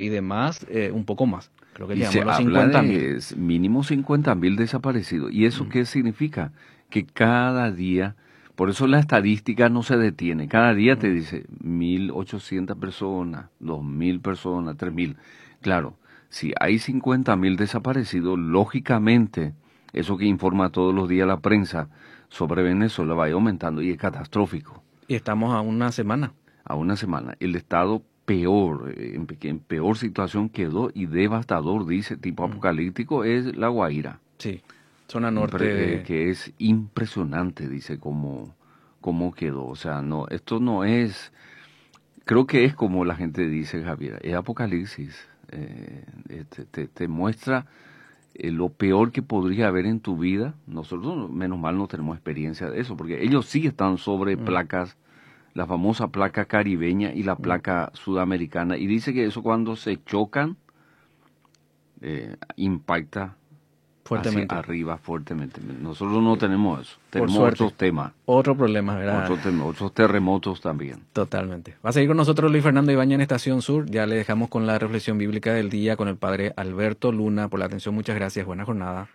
Y demás, eh, un poco más. Creo que y se habla de mínimo 50.000 desaparecidos. ¿Y eso mm. qué significa? Que cada día, por eso la estadística no se detiene, cada día te mm. dice 1.800 personas, 2.000 personas, 3.000. Claro, si hay 50.000 desaparecidos, lógicamente, eso que informa todos los días la prensa sobre Venezuela va a ir aumentando y es catastrófico. Y estamos a una semana. A una semana. El Estado peor, eh, en, peor situación quedó y devastador, dice, tipo mm. apocalíptico, es La Guaira. Sí, zona norte. Eh, que es impresionante, dice, cómo, cómo quedó. O sea, no, esto no es, creo que es como la gente dice, Javier, es apocalipsis. Eh, te, te, muestra lo peor que podría haber en tu vida. Nosotros, menos mal, no tenemos experiencia de eso, porque ellos sí están sobre mm. placas la famosa placa caribeña y la mm. placa sudamericana. Y dice que eso cuando se chocan, eh, impacta fuertemente. arriba fuertemente. Nosotros no tenemos eso, tenemos otros temas. Otro problema, ¿verdad? Otros, terremotos también. Totalmente. Va a seguir con nosotros Luis Fernando Ibañez en Estación Sur. Ya le dejamos con la reflexión bíblica del día con el padre Alberto Luna. Por la atención, muchas gracias. Buena jornada.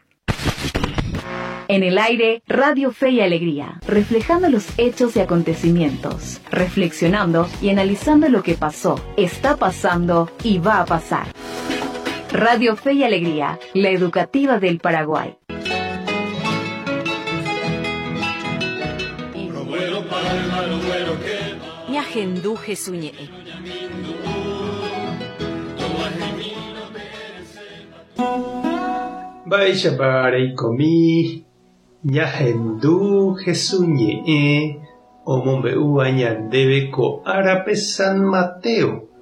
En el aire, Radio Fe y Alegría, reflejando los hechos y acontecimientos, reflexionando y analizando lo que pasó, está pasando y va a pasar. Radio Fe y Alegría, la educativa del Paraguay. Ñahendu Jesús ñe'ẽ omombe'úva ñandéve ko árape San Mateo.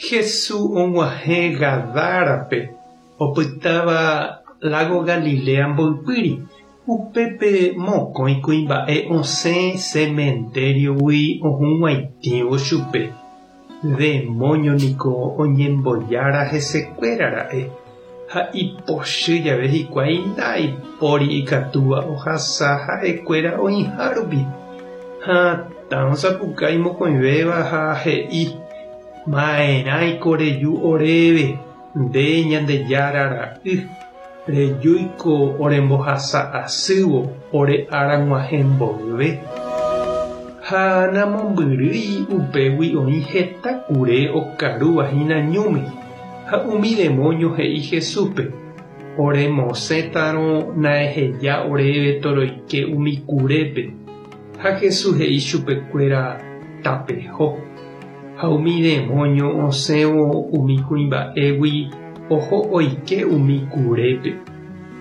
Jesús og̃uahẽ Gadárape opytáva lago Galilea mboypýri, upépe mokõi kuimba'e osẽ cementerio-gui ohug̃uaitĩvo chupe. Demóño niko oñembojára hesekuérara'e. Ha ipochy jave hikuái ndaipóri ikatúva ohasa ha'ekuéra oĩha rupi. Hatã osapukái mokõivéva ha he'i Ma'erãiko reju oréve, nde Ñandejára ra'y, rejúiko orembohasa asývo ore ára g̃uahẽ mboyve. Ha namombyrýi upégui oĩ heta kure okarúva hína ñúme. Ha umi demóño he'i Jesúspe, Oremosẽtarõ naeheja oréve toroike umi kurépe. Ha Jesús he'i chupekuéra, Tapeho. Ha umi demóño osẽvo umi kuimba'égui oho oike umi kurépe.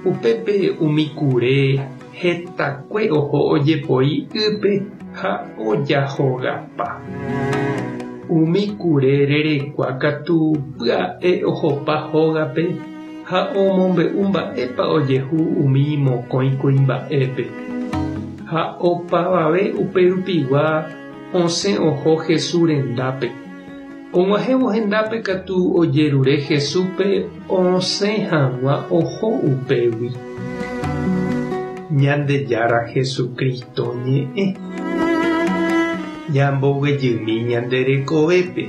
Upépe umi kure hetakue oho ojepoi ýpe ha ojahogapa. Umi kure rerekua katu pya'e ohopa hógape ha omombe'u mba'épa ojehu umi mokõi kuimba'épe. Ha opavave uperupigua osẽ oho Jesús rendápe. Og̃uahẽvo hendápe katu ojerure Jesúspe osẽ hag̃ua oho upégui. Ñandejára Jesucristo ñe'ẽ. Ñamboguejymi ñande rekovépe.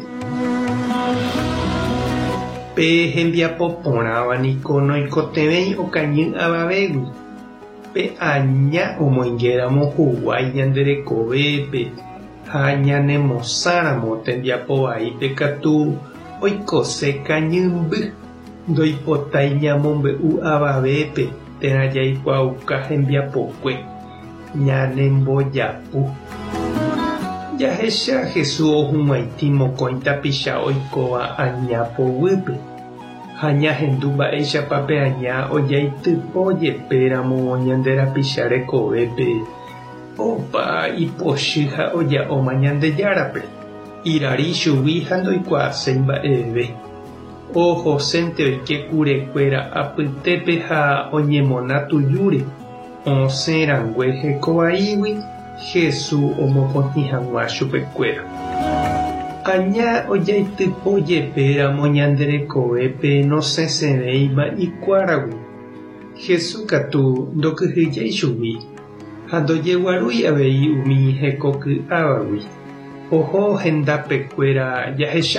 Pe hembiapo porãva niko noikotevẽi okañy avavégui. Pe aña omoingéramo huguái ñande rekovépe ha ñanemosãramo tembiapo vaípe katu oikose kañymby, ndoipotái ñamombe'u avavépe térã jaikuaauka hembiapokue, ñanembojapu. Jahecha Jesús ohug̃uaitĩ mokõi tapicha oikóva aña poguýpe ha ñahendu mba'éichapa pe aña ojaitypo jepéramo ñande rapicha rekovépe opa ipochy ha oja'óma Ñandejárape, irari chugui ha ndoikuaaséi mba'eve. Ohosénte oike kurekuéra apytépe ha oñemona tujúre, osẽ rangue hekovaígui Jesús omopotĩ hag̃ua chupekuéra. Aña ojaitypo jepéramo ñande rekovépe nosẽsẽvéima ikuáragui. Jesús katu ndokyhyjéi chugui ha ndojeguarúi avei umi hekoky'ávagui. Oho hendapekuéra jahecha.